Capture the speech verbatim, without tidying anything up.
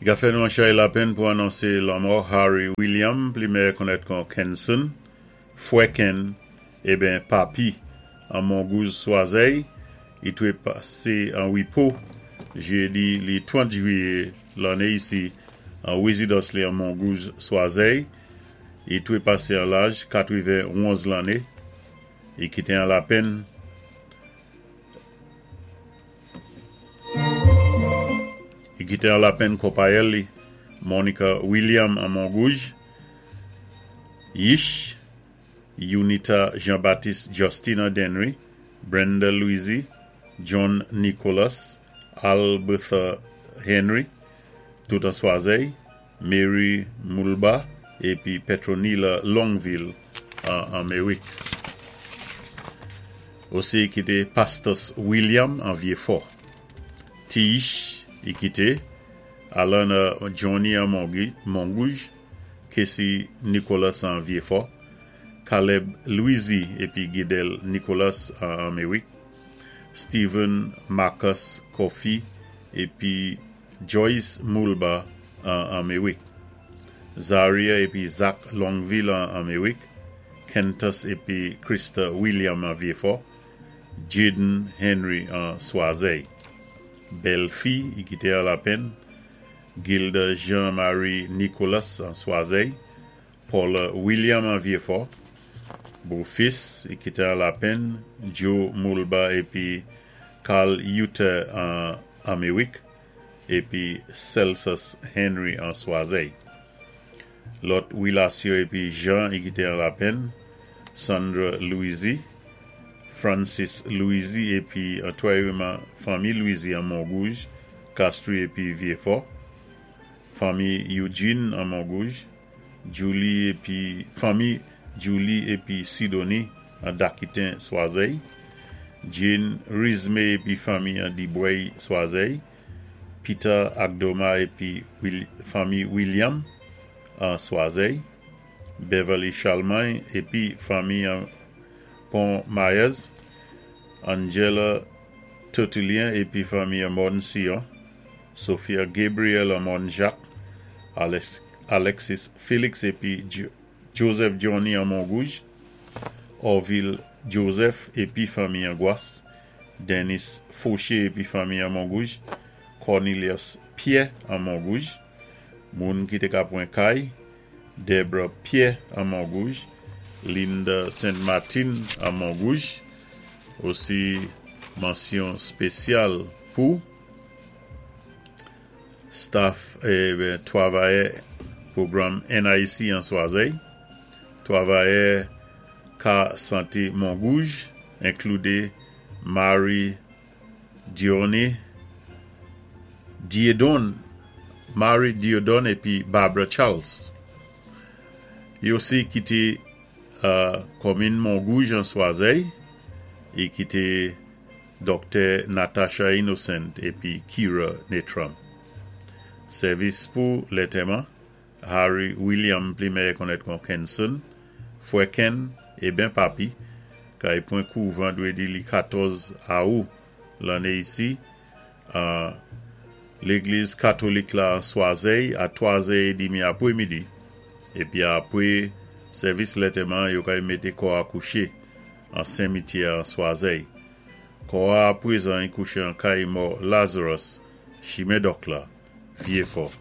I ka fè nou an chay lapenn pou anonsé lanmò Harry William, pli mèyè konnèt kon Kenson, Fwè Ken, eben Papi, an Mongouj Swazèy, i twé pasé an wépo, jédi li trant jwiyé lanné isi, an wézidans li an Mongouj Swazèy, i twé pasé an laj katwenwonz lanné, i kité an lapenn i kité an lapenn konpayèl li, Monica William an Mongouj, Yish, Unita Jean-Baptiste Justin an Dennery, Brenda Louisy, John Nicholas, Albertha Henry, tout an Swazèy, Mary Mulba, épi Petronila Longville an Amerik. Osi i kité Pastos William an Vieux-Fort. Tiish i kité Alana Johnny an Mongouj, Casey Nicholas an Vieux-Fort, Caleb Louisy épi Guidel Nicholas an Amerik, Stephen Marcus Coffey épi Joyce Mulba an Amerik, Zaria épi Zach Longville an Amerik, Kentus épi Krista William an Vieux-Fort, Jaden Henry an Swazèy. Bèlfi i kité an lapenn, Gilda Jean-Marie Nicholas an Swazèy, Paula William an Vieux-Fort, Bofis i kité an lapenn, Joe Mulba épi Carl Uter an Amerik, épi Celsus Henry an Swazèy. Lòt wélasyon épi jan i kité an lapenn, Sandra Louisy, Francis Louisy épi antwayèman fanmi Louisy an Mongouj, Castries épi Vieux-Fort, fanmi Eugene an Mongouj, Julie épi fanmi Julie épi Sidonie an Dakitin Swazèy, Jane Rizme épi fanmi an Dibwèy Swazèy, Peter Agdoma épi fanmi William an Swazèy, Beverly Charlemagne épi fanmi an Pont Myers, Angela Tertulien épi fanmi an Morne Sion, Sophia Gabriel an Morne Jacques, Alexis Félix épi Joseph Johnny an Mongouj, Orville Joseph épi fanmi an Gwas, Dennis Fauché épi fanmi an Mongouj, Cornelius Pierre an Mongouj, moun ki té ka pwan kay, Debra Pierre an Mongouj, Linda Saint Martin an Mongouj, osi mansyon spésyal pou staff eh, twavayè pwogram N I C an Swazèy, twavayè ka santé Mongouj, enkloudé Marie Dionne, Diedon, Marie Diodon épi Barbara Charles. I osi kité uh, komin Mongouj an Swazèy, i kité Doktè Natasha Innocent épi Kira Netram. Sèvis pou lantèman, Harry William pli mèyè konnèt kon Kenson, Fwè Ken eben Papi, kay pwan kou vandwédi li katòz awou lanné isi, uh, légliz katolik la an Swazèy a twazè édmi apwémidi, épi apwé sèvis lantèman yo kay mété kò a kouché an simityè an Swazèy. Kò a apwézan i kouché an kay mò Lazarus, Chimen Dòk la, Vieux-Fort.